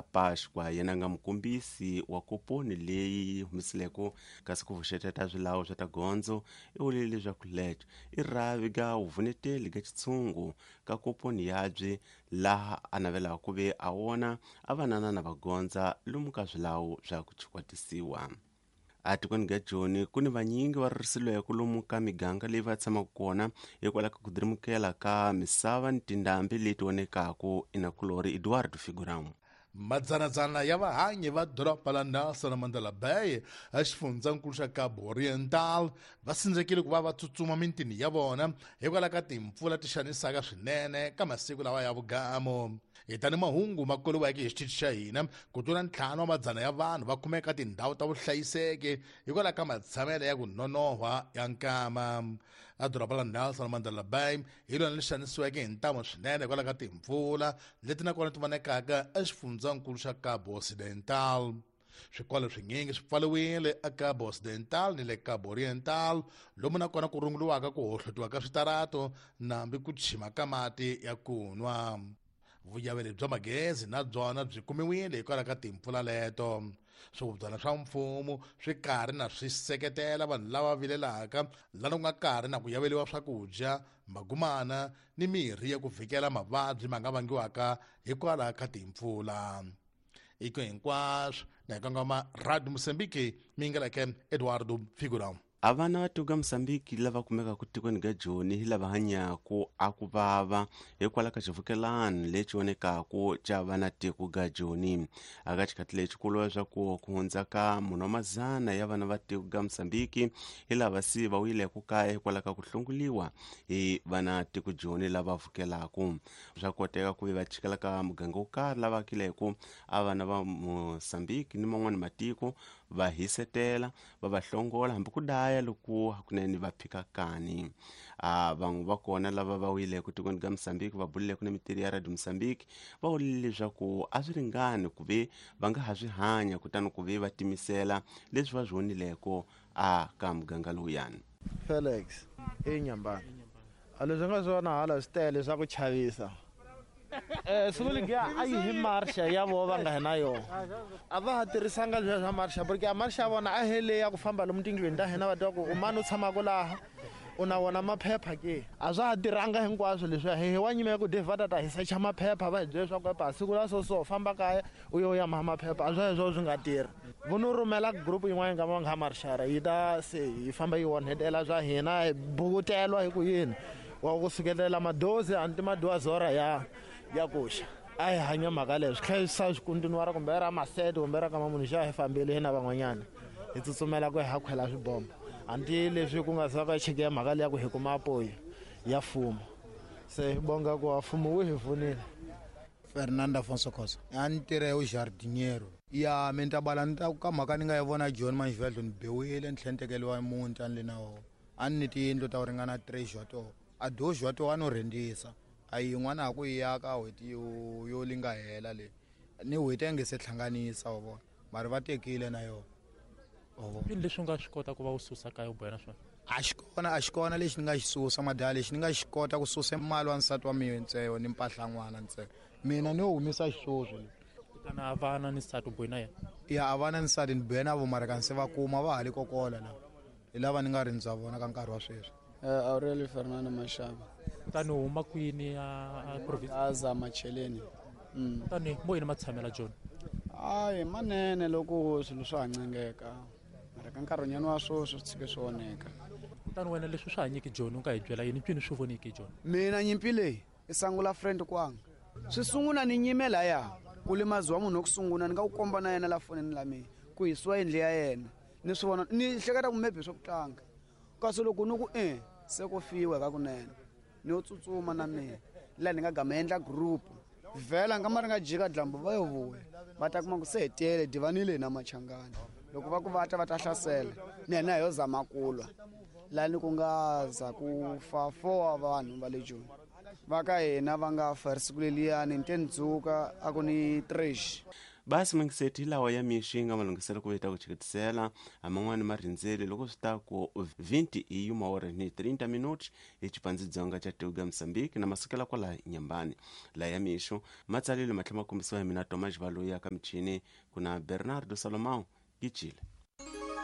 Da Páscoa yena nga mukombisi wa koponi leyi humisileko kasi ku vuxeteta swilawu swa ta gondzo i vulile leswaku leco i rhavi ga vuvuneteli ga xitshungu ka koponi yabye laha a navelaka ku ve a wona a vanana na vagondza lomu ka swilawu swa ku chikwatisiwa. Atikweni ga Joni ku ni vanyingi va ririsilweke lomu ka miganga leyi va tshamaka kona hikwalaho ka ku dirimukela ka misava ni tindhambi leti onekaku inakulori Eduardo Figuram. Madzanadzana ya vahanyi va doroba la Nelson Mandela Bay exifundzankulu xa Cabo Oriental va sindzekile ku va va tsutsuma mintini ya vona hikwalaho ka timpfula ti xanisaka swinene ka masiku lawa ya vugamu. Hi tani mahungu ma koliweke hi xitichi xa hina, ku tlula 5 wa madzana ya vanhu va kumeka tindhawu ta vuhlayiseki hikwalaho ka matshamelo ya ku nonohwa ya nkama. A doroba la Nelson Mandela Bay hi lona li xanisiweke hi ntamu swinene hikwalaho ka timpfula leti na kona ti vonekaka exifundzankulu xa Cabo Occidental. Swikolo swinyingi swi pfariwile eCabo Occidental ni le Cabo Oriental, lomu na kona ku runguriwaka ku hohlotiwa ka switarato nambi ku chima ka mati ya ku nwa. Vuyaveri bya magezi na byona byi kumiwile hikwalaho ka timpfula leto. Swihubyana swa mfumo swi karhi na swi seketela vanhu lava vilelaka lana ku nga karhi na ku yaveriwa swakudya, magumana ni mirhi ya ku vhikela mavabyi ma nga vangiwaka hikwalaho ka timpfula. Iko hinkwaswo na hi kongoma Radio Mozambique mi ngeleke Eduardo Figurão. A vana va tiko ka Mozambique lava kumekaka tikweni ka Joni hi lava hanyaku a ku vava hikwalaho ka xivukelano lexi vonekaku xa vana tiko ga Joni. Aka xikhathi lexi ku vuriwa leswaku ku hundza ka munhu wa mazana ya vana va tiko ka Mozambique hi lava se va wuyileke kaya hikwalaho ka ku hlongoliwa hi vana tiko Joni lava vukelaku. Swa koteka ku ve va chikela ka muganga wo karhi lava akileke a vana va Mozambique ni man'wani matiko va hisetela va va hlongola hambi ku daya loko hakunene va phika kani. A van'we va kona lava va wuyileke tikweni ka Mozambique va bulileke na mitirhi ya Radio Mozambique va vulile leswaku a swi ringani ku ve va nga ha swi hanya kutani ku ve va timisela leswi va swi vonileko a ka muganga lowuyani. Felix i Nyambana. A leswi nga swona hala swi tele swa ku chavisa. Siku leriya a yi hi marsha ya vona va nga hi na yona. A va ha tirhisanga leswiya swa marsha porque a marsha ya vona a hi leyi ya ku famba lomu tindlwini ta hina va twa ku u mani u tshamaka laha u na wona maphepha ke. A swa ha tirhanga hinkwaswo leswiya hi wa nyima ya ku Dave va ta ta hi secha maphepha va hi byela leswaku epa siku la so so famba kaya u yo ya maha maphepha a swa sweswo swi nga tirhi. Vo no rhumela group yin'wana nga va nga marshara yi ta se yi famba yi onhetela swa hina hi bukutela hi ku yini wa ku sukelela madozi anti madoazora ya ya kuxa a hi hanya mhaka leyo swi tlhela swi swi kuntinuwara kumbe ra masete kumbe ra kama munhu xa hi fambile hina van'wanyana hi tsutsumela ku hi ha khwela swibombo anti leswi ku nga za va cheke ya mhaka leya ku hi kuma apoyi ya mfumo se hi bonga ku wa mfumo wu hi pfunile. Fernando Afonso Khosa a ni tirha hi jardiniero ya mi ta bala ni ta ka mhaka ni nga yi vona John Manjivadlo ni biwile ni tlhela ni tekeriwa muti a ni le na wona a ni ni tiyindlu ta ku ringana 3 wa toho a dozi wa toho a no rhentisa a yin'wana ha ku yi aka n'hweti yo yo li nga hela leyi ni n'hweti a nge se hlanganisa wa vona mara va tekile na yona wa vona. Yini leswi u nga swi kota ku va u susa kaya u bohela swona? A xi kona a xi kona lexi ni nga xi susa madala lexi ni nga xi kota ku susa mali wa nsati wa mina ntsena ni mpahla n'wana ntsena mina ni yo humesa xisweswo le. Kutani a va na ni nsati u bohe na yena? Ya a va na nsati ni bohe na vo mara kanse va kuma va ha le kokola la hi lava ni nga rindza vona ka nkarhi wa sweswi. Aurelio Fernando Mashaba. Kutani u huma kwini a province? Gaza Macheleni. Kutani mo yini matshamela John? Hayi manene loko swilo swa ha ncengeka mara ka nkarhinyana wa sweswi swi tshike swi onheka. Kutani wena leswi swa hanyiki John u nga hi byela yini mpfini swi voniki John? Mina nyimpi leyi i sangula friend kwanga swi sungula ni nyime laya ku limaziwa munhu wa ku sungula ni nga ku komba na yena la fonini la mina ku hisiwa yindlu ya yena ni swi vona ni hleketa ku maybe swa ku tlanga kasi loko ni ku e se ku fiwa ka kunene ni yo tsutsuma na mina laha ni nga gama endla group vhela nga ma ri nga jika dlambu va yo vuya va ta kuma ku se hi tele divanile na machangani loko va ku va ta va ta hlasela ni yena hi yo zama ku lwa laha ni ku nga za ku fa 4 wa vanhu va le Joni va ka hina va nga fa ri siku leliyani ni te ni dzuka a ku ni trash. Basi mingiseti lawa ya mixi nga malunghiselo ku veta ku chiketisela aman'wani marindzele loko swi ta ku 20 i uma hora ni 30 minutos hi xipandzidzonga xa tiko ya Mozambique na masukela kwala Nyambani. Laya ya mixo matsalelo ma tlhela ma kombisiwa hi mina Thomas Valoyi ya ka michini ku na Bernardo Salomão Gicile.